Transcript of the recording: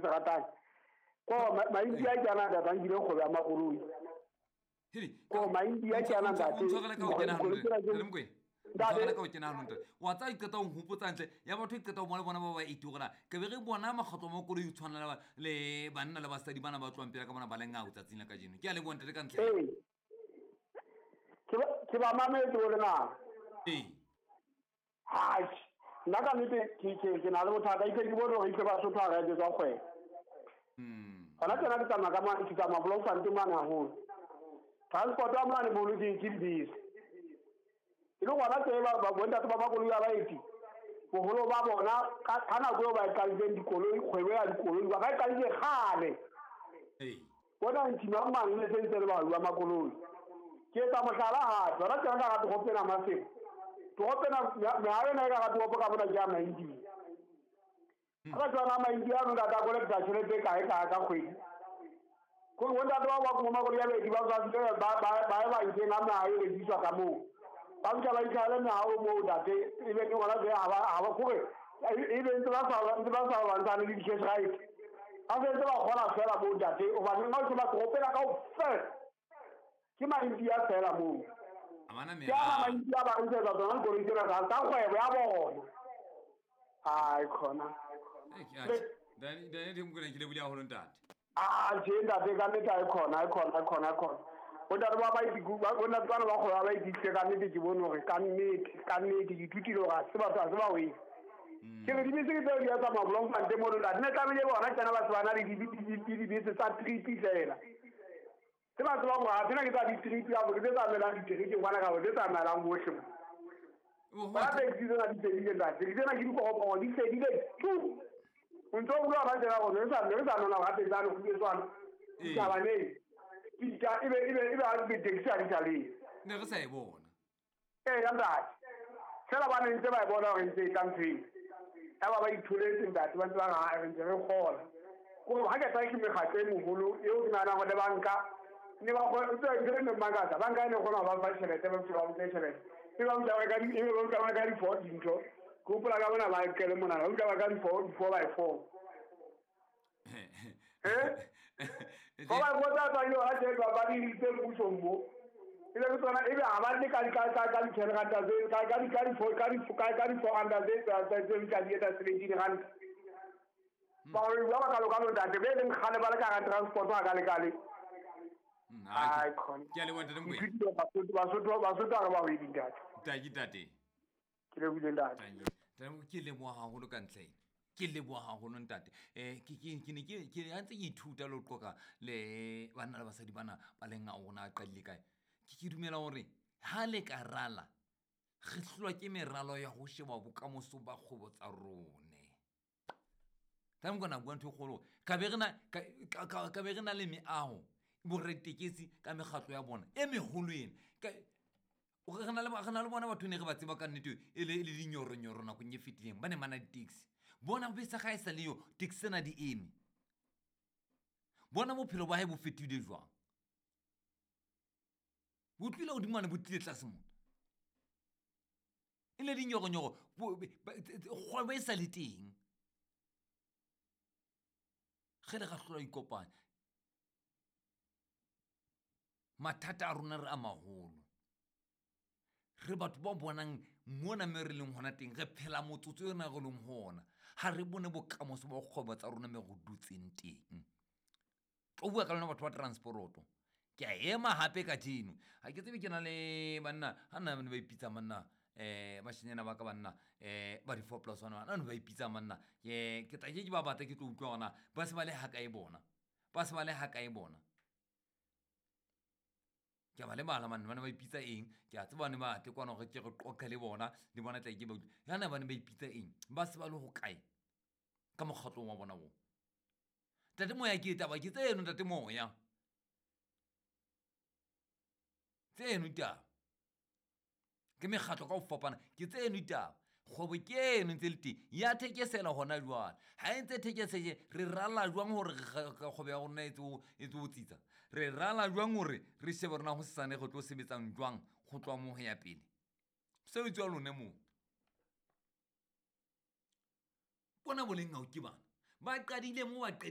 se ratang. Ko Maindia ke ana ntate a nkile kgwebo ya makoloi. Ko Maindia ke ana ntate. Ntshwarele ka ho kena hantle. Mokwena. Ntshwarele ka ho kena hantle. Wa tsa iqeta ho nhopotsa hantle. Ya batho iqeta ho bona bona ba ba 80 hore na ke be re bona makgotlo a makoloi ho tshwana le banna le basadi bana ba tlohang pele ka bona ba le ngao tsatsing la kajeno. Ke a leboha ntate ka ntle. Ee. Ke ba mametse bo lena. Ee. Hai. Nna ka nnete ke na le bothata itse ke bone hore itse Basotho ha re etsetswa kgwebo. Hona tjena ke tsamaya ka mane, ke tsamaya Bloemfontein mane haholo. Transport ya mane boholo ke dibese. E le gona tse ba bontate ba makoloi a baeti boholo ba bona ka nako eo ba e qadileng dikoloi, kgwebo ya dikoloi ba e qadile kgale. Bona ntima mang le sentse le ba makoloi. Ke etsa mohlala hape, hona tjena ka ga toropo ena Maseru. Toropo ena meaho ena e ka ga toropo ka mona ke ya Maindia. Ha tswana Maindia ano ntate a kolekta tjhelete e kae kae ka kgwedi. Kore bontate ba ba makoloi a baeti ba tswa ba ye bankeng a meaho e rekiswa ka moo. Ba fihla ba itlhahele meaho moo ntate, ebe ke gona tse ha ba kore ebe ntse ba sa lwantshane le di-cash right. Ba sentse ba kgola fela moo ntate, hobane nna o sheba toropo ena kaofela ke Maindia fela moo. Ke ana Maindia ba rekisetsa tsona dikoloi tsena tsa kgwebo ya bona. Ai khona. Daniel Mokwena ke lebohile haholo ntate. Ah tjhe ntate ka nnete ai khona ai khona ai khona ai khona. Bontate ba baeti bontate bana ba kgwebo ba baeti ka nnete ke bone hore ka nnete ke ithutile hore ha se batho ha se ba wele. Ke re dibese ke tseo di ya tsamaya Bloemfontein mono ntate. Ne tlamehile bona tsena ba se ba na le dibese tsa trip fela. Se ba tsebang hore ha tsena ke tsa di-trip kapa ke tse tsamaelang diterekeng kwana kapa tse tsamaelang hohle mo. Bona taxi tsena di fedile ntate. Taxi tsena ke dikoroporo di fedile tu. O ntso bua ba tsena gore re sa nona gape tsane go tswana. Ditaba ne. Ebe ha di taxi ha di sa le. Ne re sa e bona. Ee ya ntate. Fela ba ne ntse ba e bona hore ntse e tla ntho eo. Ya ba itholetse ntate ba ntse ba re re ntse re kgola. Kore ha ke tsaya ke mekgatlo e moholo eo ke nahanang hore le banka ne ba ntse e ne mmakatsa banka e ne kgona ho ba fa tjhelete ba ba nke tjhelete. E ba ba ba ka di-four dintho. Ke hopola ka bona ba kele monana, ba utlwa ba ka di-four by four. Four by four tsa tswa ha tjhe ba di tse mmusong mo. E be tsona ebe ha ba le ka di-ten ranta tse ka di-four ranta tse tse ka di etsa 17 ranta. Ba re ba ka loka ntate be leng kgale ba le ka transport ha ka le kale. Ai khona. Ke a leboha ntate Mokwena. Basotho ha re ba hwedi ntate. Ntate ntate. Ke lebohile ntate. Ntate ke leboha haholo ka ntle ena. Ke leboha haholo ntate. Ke ne ke ha ntse ke ithuta le ho qoqa le banna le basadi bana ba leng a rona a qadile kae. Ke dumela hore ha le ka rala re hlolwa ke meralo ya ho sheba bokamoso ba kgwebo tsa rone. Tla Mokwena bua ntho e kgolo. Ka be re na le meaho boretekesi ka mekgatlo ya bona e meholo ena. Re na le bona batho ne re ba tseba ka nnete e le dinyoronyoro nakong e fetileng ba ne ba na di-taxi. Bona bese ga e sa le yo taxi tsena di eme. Bona bophelo ba hae bo fetohile jwang. Bo tlile hodimo mane bo tlile tlase mona. E le dinyoronyoro kgwebo e sa le teng. Ge le ga hlola ikopanya. Mathata a rona re a maholo. Re batho ba bonang mona me re leng hona teng re phela motsotso ena re leng hona. Ha re bone bokamoso ba kgwebo tsa rona me re dutseng teng. Tlo bua ka lona batho ba transporoto. Ke a ema hape kajeno. Ha ke tsebe ke na le banna, ha nna ba ipitsa banna, bashenyana ba ka banna, ba di-4 plus 1 bana, ba ipitsa banna. Ke tla ke ba batla ke tlo utlwa hore na ba se ba le ha kae bona. Ba se ba le ha kae bona. Ke a ba lebala manne, ba ne ba ipitsa eng? Ke a tseba ne ba tle kwana hore ke re qoqe le bona, le bona tla ke ba utlwe. Yana ba ne ba ipitsa eng? Ba se ba le ho kae? Ka mokgatlong wa bona oo. Ntate Moya ke taba ke tseno ntate Moya. Tseno ditaba. Ke mekgatlo ka ho fapana, ke tseno ditaba. Kgwebo ke eno ntse le teng. Ya thekesela hona jwale. Ha e ntse thekesele, re rala jwang hore kgwebo ya rona e tse ho tsitsa? Re rala jwang hore re shebe rona hosane re tlo sebetsang jwang ho tloha moo ho ya pele? Mosebetsi wa lona moo. Bona boleng ha o ke bana. Ba qadile moo ba qadile.